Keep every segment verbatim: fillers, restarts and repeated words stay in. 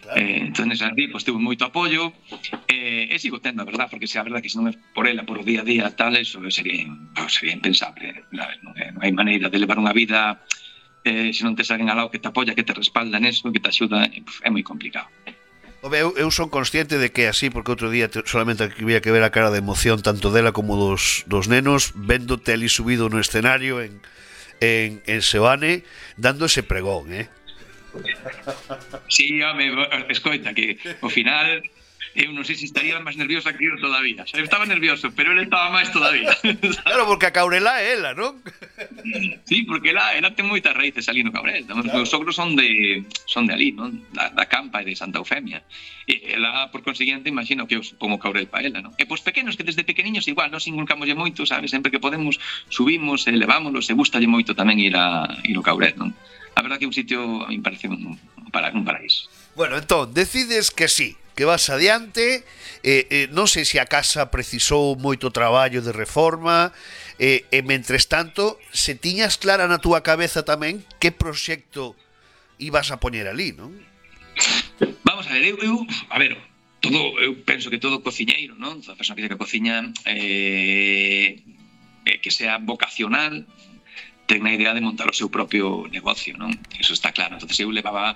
Claro. Eh, entón, así, pois, tuve moito apoio, eh, e sigo tendo, a verdad, porque se a verdad que se non é por ela, por o día a día, tal, eso sería, pues, sería impensable, sabes? Non, é, non hai maneira de levar unha vida eh, se non tes alguén ao lado que te apoia, que te respalda neso, que te axuda, é, é moi complicado. Home, eu, eu son consciente de que é así, porque outro día te, solamente había que ver a cara de emoción tanto dela como dos, dos nenos véndote ali subido no escenario en, en, en Seoane dando ese pregón, eh? Sí, home, escoita, que ao final eu non sei se estaría máis nerviosa que eu todavía. Xa estaba nervioso, pero ele estaba máis todavía. Claro, porque a Caurelá é ela, non? Sí, porque ela, ela ten moitas raíces ali no Cabrel. Os Claro. meus sogros son de son de ali, non? Da, da Campa e de Santa Eufemia. E ela, por consiguiente, imagino que eu pongo Cabrel para ela, non? E pois pequenos que desde pequeniños igual, nos inculcamoslle moito, sabes? Sempre que podemos subimos, elevámonos, e gustalle moito tamén ir a ir ao Cabrel, non? A verdad que é un sitio, a mí me parece un, para, un paraíso. Bueno, entón, decides que sí, que vas adiante, eh, eh, non sei se a casa precisou moito traballo de reforma, eh, e mentres tanto, se tiñas clara na túa cabeza tamén que proxecto ibas a poñer ali, non? Vamos a ver, eu, eu a ver, todo, eu penso que todo cociñeiro, non? Toda persona que, que cociña eh, eh, que sea vocacional, ten a idea de montar o seu propio negocio, non? Eso está claro. Entonces eu levaba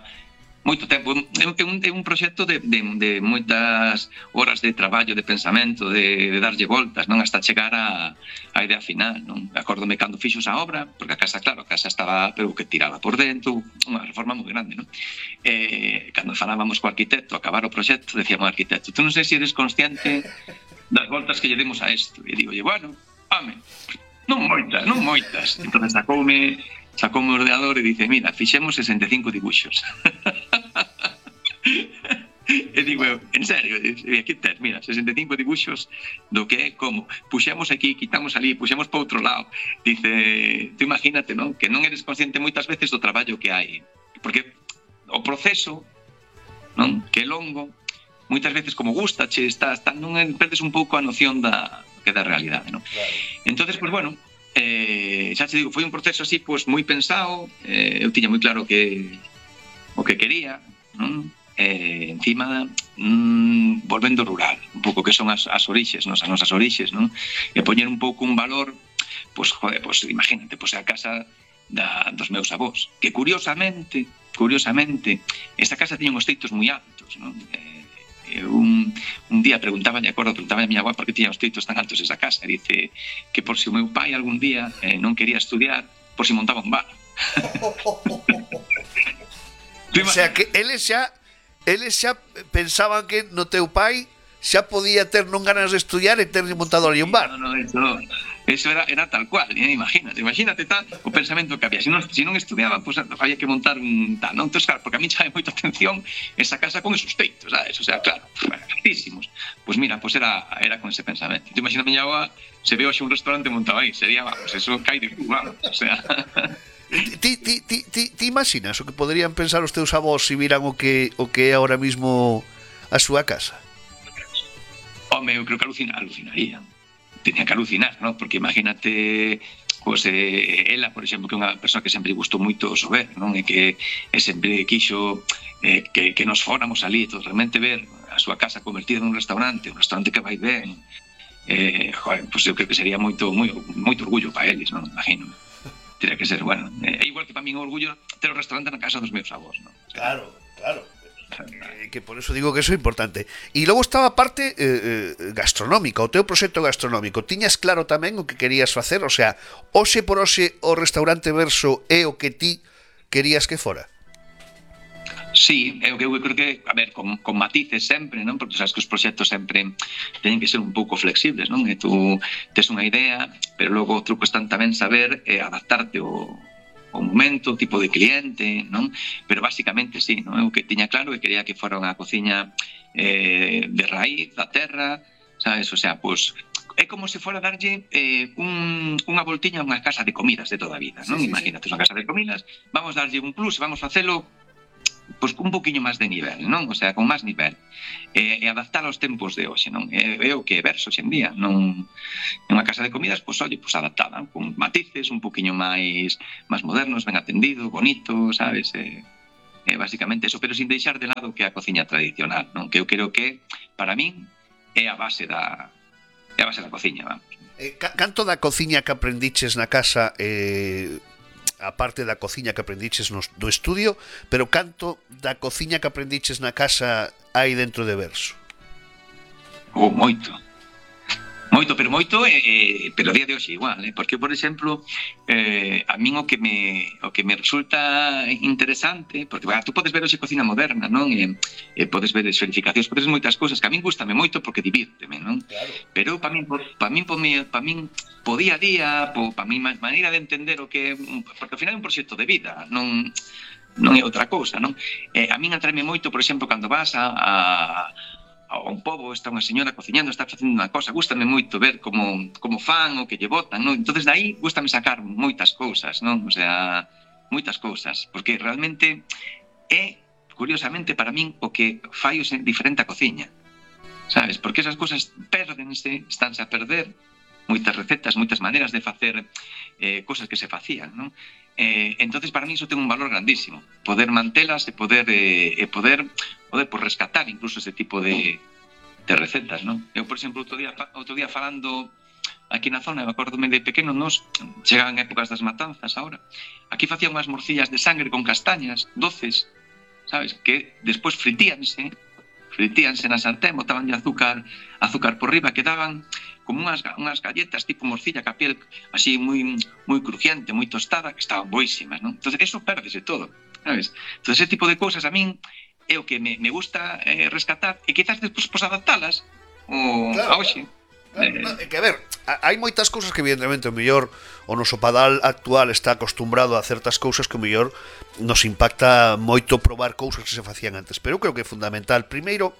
moito tempo, é un, é un proxecto de, de, de moitas horas de traballo, de pensamento, de, de darlle voltas, non? Hasta chegar a, a idea final, non? Acórdome cando fixos a obra, porque a casa, claro, a casa estaba, pero que tiraba por dentro, unha reforma moi grande, non? Eh, cando falábamos co arquitecto, acabar o proxecto, decíamos ao arquitecto, tú non sei se eres consciente das voltas que lle demos a isto. E digo, bueno, home, non moitas, non moitas. Entón sacoume, sacoume o ordenador e dice, mira, fixemos sesenta e cinco dibuixos. E digo eu, en serio, e aquí tes, mira, sesenta e cinco dibuixos do que é como, puxemos aquí, quitamos ali, puxemos para outro lado. Dice, tú imagínate, non? Que non eres consciente moitas veces do traballo que hai. Porque o proceso, non? Que é longo, moitas veces como gustache, estás, non perdes un pouco a noción da que da realidade, non? Claro. Entonces, pues bueno, eh, xa te digo, foi un proceso así, pues moi pensado, eh, eu tiña moi claro que o que quería, non? Eh, encima, mm, volvendo rural, un pouco que son as, as orixes, non? As nosas orixes, non? E poñer un pouco un valor, pues, joder, pues imagínate, pues a casa da, dos meus avós, que curiosamente, curiosamente, esta casa tiña uns teitos moi altos, non? Eh, Un, un día preguntaba, de acordo, preguntaba a miña avó por que tiña os teitos tan altos esa casa, e dice que por si o meu pai algún día eh, non quería estudiar, por si montaba un bar. O sea que eles xa eles xa pensaban que no teu pai xa podía ter non ganas de estudiar e ter montado ali un bar. No, no, eso, eso era, era tal cual, eh, imagínate, imagínate tal o pensamento que había. Se non, se non estudiaba, pues había que montar un tal, non? Entón, claro, porque a mí chame moita atención esa casa con esos teitos, sabes? O sea, claro, altísimos. Pues mira, pues era, era con ese pensamento. Tú imagínate, miña avó, se veo xe un restaurante montado aí, sería, vamos, eso cae de cu, vamos, o sea... Ti, ti, ti, ti, ti imaginas o que poderían pensar os teus avós se viran o que o que é ahora mismo a súa casa? Home, eu creo que alucina, alucinaría. Tenía que alucinar, ¿no? Porque imagínate, pues, eh, ela, por exemplo, que é unha persoa que sempre gustou moito o sober, non? E que e sempre quixo eh, que, que nos fóramos ali, todo, realmente ver a súa casa convertida nun restaurante, un restaurante que vai ben, eh, joder, pues eu creo que sería moito, moi, moito orgullo para eles, non? Imagino. Teria que ser, bueno, é igual que para min o orgullo ter o restaurante na casa dos meus avós, non? O sea, claro, claro. Eh, que por eso digo que eso é importante. E logo estaba a parte eh, eh, gastronómica, o teu proxecto gastronómico. Tiñas claro tamén o que querías facer? O sea, hoxe por hoxe o restaurante Verso é o que ti querías que fora? Sí, eu, eu creo que, a ver, con, con matices sempre, non? Porque sabes que os proxectos sempre teñen que ser un pouco flexibles, non? E tú tes unha idea, pero logo o truco está tamén saber eh, adaptarte ao o momento, o tipo de cliente, non? Pero basicamente sí, non? Eu que tiña claro que quería que fora unha cociña eh, de raíz, da terra, sabes? O sea, pues é como se fora darlle eh, un, unha voltiña a unha casa de comidas de toda a vida, non? Sí, sí, Imagínate, sí. Unha casa de comidas, vamos darlle un plus, vamos facelo pues un poquinho máis de nivel, non? O sea, con máis nivel. E, e adaptar aos tempos de hoxe, non? É, é o que é Verso hoxe en día, non? En unha casa de comidas, pois, pues, oye, pues adaptada, con matices un poquinho máis máis modernos, ben atendido, bonito, sabes? E, eh, basicamente eso, pero sin deixar de lado que a cociña tradicional, non? Que eu creo que, para min, é a base da é a base da cociña, vamos. Eh, canto da cociña que aprendiches na casa, eh, a parte da cociña que aprendiches no, do estudio, pero canto da cociña que aprendiches na casa hai dentro de Verso? Oh, moito. Moito, pero moito, eh, pero a día de hoxe igual, eh? Porque, por exemplo, eh, a min o que me o que me resulta interesante, porque bah, tú podes ver hoxe cocina moderna, non? E, e podes ver esferificacións, podes ver moitas cousas que a min gustame moito porque divírteme, non? Claro. Pero para min, para min, para min, po día a día, para min maneira de entender o que, porque ao final é un proxecto de vida, non non é outra cousa, non? Eh, a min atraeme moito, por exemplo, cando vas a, a a un pobo, está unha señora cociñando, está facendo unha cosa, gústame moito ver como, como fan o que lle botan, non? Entonces dai gústame sacar moitas cousas, non? O sea, moitas cousas, porque realmente é, curiosamente, para min, o que fai o diferente a cociña, sabes? Porque esas cousas perdense, estánse a perder, moitas recetas, moitas maneiras de facer eh, cousas que se facían, non? Eh, entonces para mí iso ten un valor grandísimo, poder mantelas e poder eh, e poder poder por rescatar incluso ese tipo de, de recetas, non? Eu, por exemplo, outro día outro día falando aquí na zona, me acordome de pequeno, nos chegaban épocas das matanzas agora. Aquí facían unhas morcillas de sangre con castañas, doces, sabes, que despois fritíanse, fritíanse na sartén, botaban de azúcar, azúcar por riba, que daban como unhas, unhas galletas tipo morcilla, que a piel así moi moi crujiente, moi tostada, que estaban boísimas, non? Entonces, eso perdese todo, sabes? Entonces, ese tipo de cousas a min é o que me, me gusta eh, rescatar, e quizás despois pues, adaptalas o claro, a hoxe. Claro, claro. É que, a ver, hai moitas cousas que evidentemente o mellor o noso padal actual está acostumbrado a certas cousas que o mellor nos impacta moito probar cousas que se facían antes, pero eu creo que é fundamental, primeiro,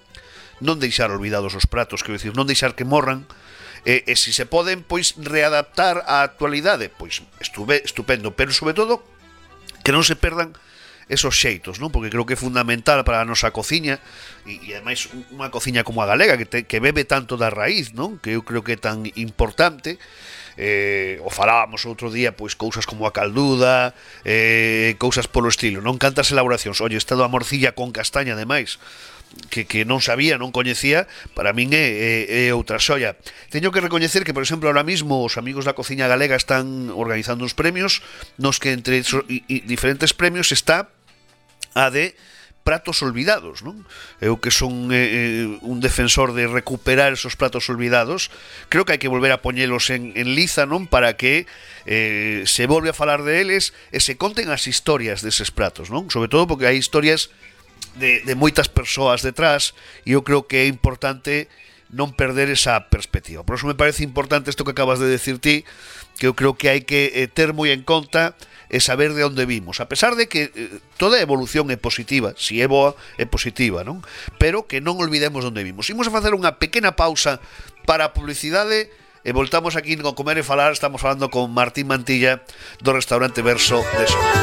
non deixar olvidados os pratos, quero dicir, non deixar que morran. E, e se se poden, pois, readaptar á actualidade, pois, estuve, estupendo, pero, sobre todo, que non se perdan esos xeitos, non? Porque creo que é fundamental para a nosa cociña, e, e ademais, unha cociña como a galega, que, te, que bebe tanto da raíz, non? Que eu creo que é tan importante. Eh, o falábamos outro día, pois, cousas como a calduda, eh, cousas polo estilo, non? Cantas elaboracións. Oye, estado a morcilla con castaña, ademais, que, que non sabía, non coñecía, para min é, é, é outra xoia. Teño que recoñecer que, por exemplo, ahora mismo os amigos da cociña galega están organizando uns premios nos que entre so, y, y diferentes premios está a de pratos olvidados, non? Eu que son eh, un defensor de recuperar esos pratos olvidados, creo que hai que volver a poñelos en, en liza, non? Para que eh, se volve a falar de eles e se conten as historias deses pratos, non? Sobre todo porque hai historias de, de moitas persoas detrás, e eu creo que é importante non perder esa perspectiva. Por eso me parece importante isto que acabas de decir ti, que eu creo que hai que eh, ter moi en conta e saber de onde vimos, a pesar de que eh, toda evolución é positiva, si é boa, é positiva, non? Pero que non olvidemos de onde vimos. Imos a facer unha pequena pausa para a publicidade e voltamos aquí con Comer e Falar. Estamos falando con Martín Mantilla do restaurante Verso de Soria.